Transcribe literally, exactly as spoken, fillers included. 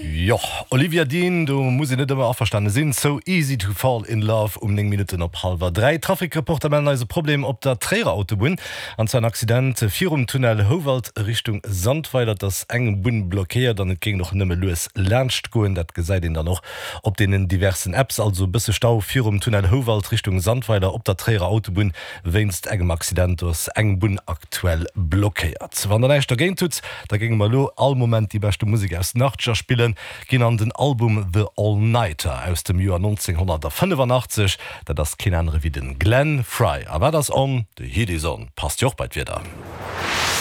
Jo, Olivia Dean, do muss een net ëmmer averstane sinn. So easy to fall in love um néng Minutten op hallwer dräi. Trafikreporter mellen eis e Problem op der Tréierer Autobunn, an zwar en Accident virum Tunnel Houwald Richtung Sandweiler. Et ass eng Bunn blockéiert an et géing och nëmme lues laanscht goen. Dat gesäit een dann och op deenen diversen Apps. Also e bësse Stau virum Tunnel Houwald Richtung Sandweiler op der Tréierer Autobunn wéinst engem Accident. Do ass eng Bunn aktuell blockéiert. Wann der näischt dergéint hutt, da géinge mer elo all Moment déi beschte Musek aus den Achtzeger spillen. Ginn an den Album The All Nighter aus dem Joer nonzénghonnertfënnefanachtzeg. Dat ass keen anere wéi den Glenn Frey. A wat ass on? The Heat is on. Passt jo och bei d'Wieder.